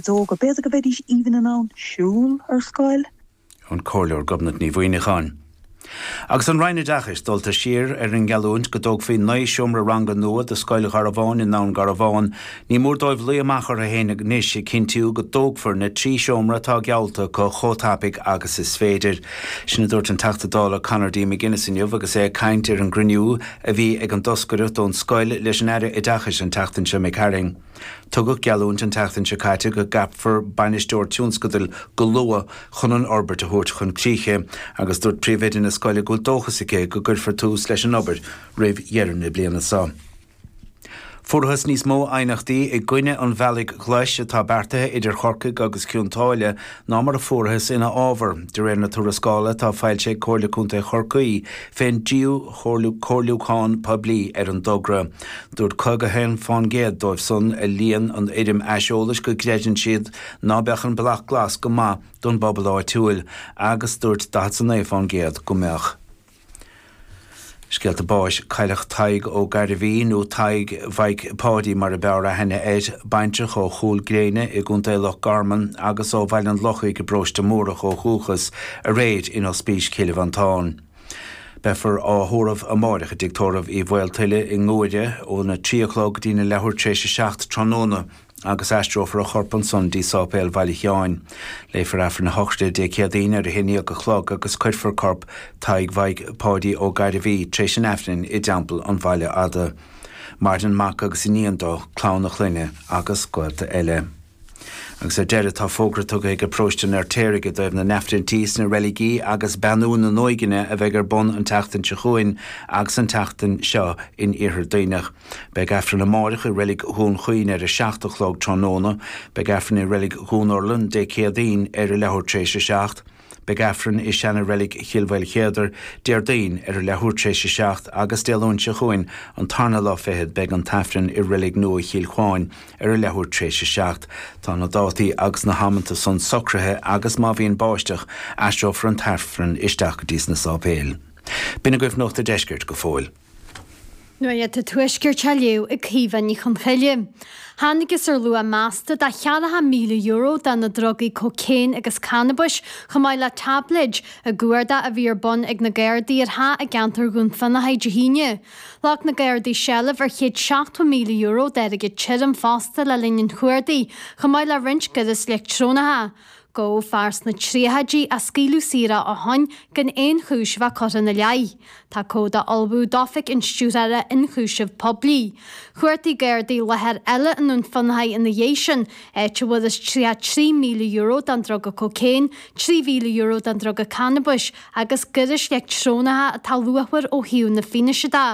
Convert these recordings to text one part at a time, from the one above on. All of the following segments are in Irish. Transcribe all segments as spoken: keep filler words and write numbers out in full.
níos óga b'fhéidir go mbeidís even in ann siúl ar scoil. An Comhairleoir Gobnait Ní Mhuimhneacháin. Agus an Roinn Oideachais dulta siar ar an ngeallúint go dtógfaí naoi seomra ranga nua do scoil Gharbháin i nDún Garbhán, ní mór dóibh luí amach orthu féin anois ag cinntiú go dtógfar na trí seomra atá geallta acu chomh tapaidh agus is féidir. Sin a dúirt an Teachta Dála Conor D. McGuinness inniu agus é ag caint ar an gcruinniú a bhí ag an dtoscaireacht ón scoil leis an Aire Oideachais an tseachtain seo Mick Herring. Tugadh geallúint an tseachtain seo caite go gceapfar bainisteoir tionscadail go luath chun an fhorbairt a thabhairt chun críche, agus dúirt príomhoide na scoile go bhfuil dóchas aici go gcuirfear tús leis an obair roimh dheireadh na bliana seo. Fuarthas níos mó aighneachtaí i gcoinne an bhealaigh ghlais atá beartaithe idir Chorcaigh agus Cionn tSáile ná mar a fuarthas ina fhábhar, de réir na tuarascála atá foilsithe ag Comhairle Contae Chorcaí fén dtríú comhairliúchán poiblí ar an dtogra. Dúirt caoga haon faoin gcéad dóibh san a líon an fhoirm aiseolais go gcreideann siad ná beadh an bealach glas go maith don bpobal áitiúil, agus dúirt daichead a naoi faoin gcéad go mbeadh. Scéalta báis cailleadh Tadhg Ó Gairbhí nó Tadhg Mhaidhc Pháidí mar a b'fhearr aithne air, baintreach ó Chúil Gréine i gContae Loch Garman agus ó Bhaile an Lochaigh i bparóiste Múrach ó dhúchas, aréir in Ospís Chill Mhantáin. Beifear á thórramh amárach i dTigh Tórraimh Uí Mhaoltuile i nGuaire óna trí a chlog go dtí na leathuair tar éis a seacht tráthnóna agus aistreofar a chorp ansan dtí Sáipéal Bhaile Sheáin. Léifear Aifreann na sochraide Dé Céadaoin ar a haon déag a chlog agus cuirfear corp Tadhg Mhaidhc Pháidí Ó Gairbhí tar éis an Aifrinn i dTeampall an Bhaile Fhada. Maireann mac agus iníon dó, clann a chlainne agus gaolta eile. Agus ar deireadh tá fógra tugtha ag paróiste an Fheirtéaraigh i dtaobh na n-aifrinntí sna reiligí agus beannú na n-uaigheanna a bheidh ar bun an tseachtain seo chugainn agus an tseachtain seo in Iarthar Duibhneach. Beidh Aifreann amárach i reilig Dhún Chaoin ar a seacht a chlog tráthnóna, beidh Aifreann i reilig Dhún Urlann Dé Céadaoin ar a leathuair tar éis a seacht. Beidh Aifreann i seana-reilig Chill Mhaoilchéadair Déardaoin ar a leathuair tar éis a seacht agus Dé Luain seo chugainn an tarna lá fichead beidh an t-aifreann i reilig nua Chill Chuáin ar a leathuair tar éis a seacht. Tá na dátaí agus na hamanta san socraithe agus má bhíonn báisteach aistreofar an t-aifreann isteach go dtí sna sáipéil. B'in agaibh Nuacht an Deiscirt go fóill. Nuacht an Tuaiscirt á léamh ag Caoimhe Ní Chonchoille. Thángthas ar luach measta de cheathracha míle euro de na drugaí cócaon agus cannabais chomh maith le táibléid i gcuardach a bhí ar bun ag na Gardaí ar theach i gceantar Dhún Fionnachaidh Dé hAoine. Ghlac na Gardaí seilbh ar chéad seachtó míle euro d'airgead tirim fosta le linn an chuardaigh, chomh maith le roinnt gaireas leictreonacha. Gabhadh fear sna tríochaidí a scaoileadh saor ó shin gan aon chúis a bheith curtha ina leith. Tá comhad á ullmhú d'Oifig an Stiúrthóra Ionchúiseamh Poiblí. Chuardaigh Gardaí láthair eile i nDún Fionnachaidh ina dhiaidh sin, áit a bhfuarthas tríocha trí míle euro den druga cócaon, trí mhíle euro den druga cannabais agus gairis leictreonacha atá luachmhar ó thaobh na fianaise de.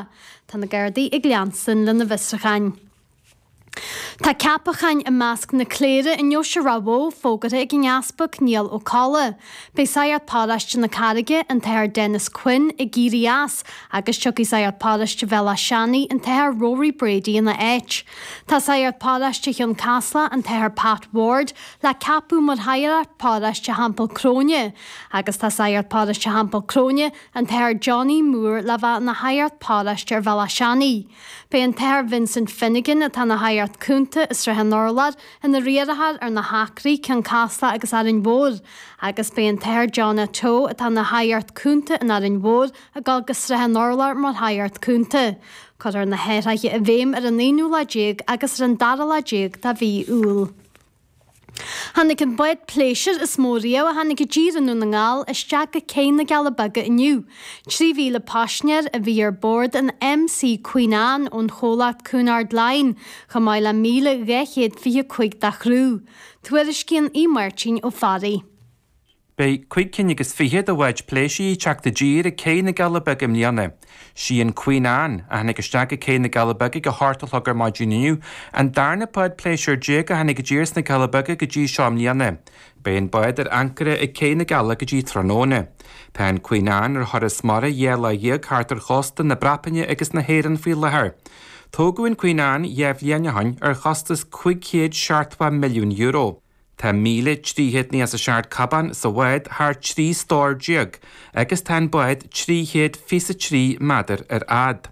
Tá na Gardaí ag leanstan lena bhfiosrúcháin. Tá ceapacháin i measc na cléire i nDeoise Ráth Bhoth fógartha ag an Easpag Niall Ó Colla. Beidh Sagart Paróiste na Carraige, an tAthair Denis Quinn, ag éirí as agus tiocfaidh Sagart Paróiste Bhéal Átha Seanaidh, an tAthair Rory Brady ina áit. Tá Sagart Paróiste Chionn Caslach, an tAthair Pat Ward, le ceapadh mar Shagart Paróiste Theampall Cróine agus tá Sagart Paróiste Theampall Cróine, an tAthair Johnny Moore le bheith ina Shagart Paróiste ar Bhéal Átha Seanaidh. Beidh an tAthair Vincent Finnegan atá ina Shagart Cúnta i Srath an Urláir ina riarthóir ar na hAcraí, Cionn Caslach agus Árainn Mhór, agus beidh an tAthair John Atoe atá ina Shagart Cúnta in Árainn Mhór ag dul go Srath an Urláir mar Shagart Cúnta. Cuirfear na hathruithe i bhfeidhm ar an aonú lá déag agus ar an dara lá déag de mhí Iúil. Tháinig an bád pléisiúir is mó riamh a tháinig i dtír i nDún na nGall isteach go Cé na gCealla Beaga inniu. Trí mhíle paisinéir a bhí ar bord an MC Queen Anne ón chomhlacht Cunard Line, chomh maith le míle dhá chéad fiche cúig dá chriú. Tuairiscíonn Aodh Máirtín Ó Fearraigh. Beidh cúig cinn agus fiche de bháid pléisiúir ag teacht i dtír ag Cé na gCealla Beaga i mbliana. Sí an Queen Anne, a tháinig isteach ag Cé na gCealla Beaga ag a hocht a chlog ar maidin inniu, an darna bád pléisiúir déag a tháinig i dtír sna Cealla Beaga go dtí seo i mbliana. Beidh an bád ar ancaire ag Cé na gCealla go dtí tráthnóna. Tá an Queen Anne ar thuras mara dhá lá dhéag thart ar chósta na Breataine agus na hÉireann faoi láthair. Tógadh an Queen Anne dhá bhliain ó shin ar chostas cúig chéad seachtó milliún euro. Tá míle trí chéad nócha is a seacht cábán sa bhád thar trí stór déag agus tá an bád trí chéad fiche a trí méadar ar fhad.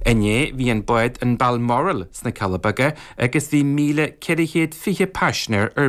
Inné bhí an bád an Balmoral sna Cealla Beaga agus bhí míle ceithre chéad fiche paisinéir ar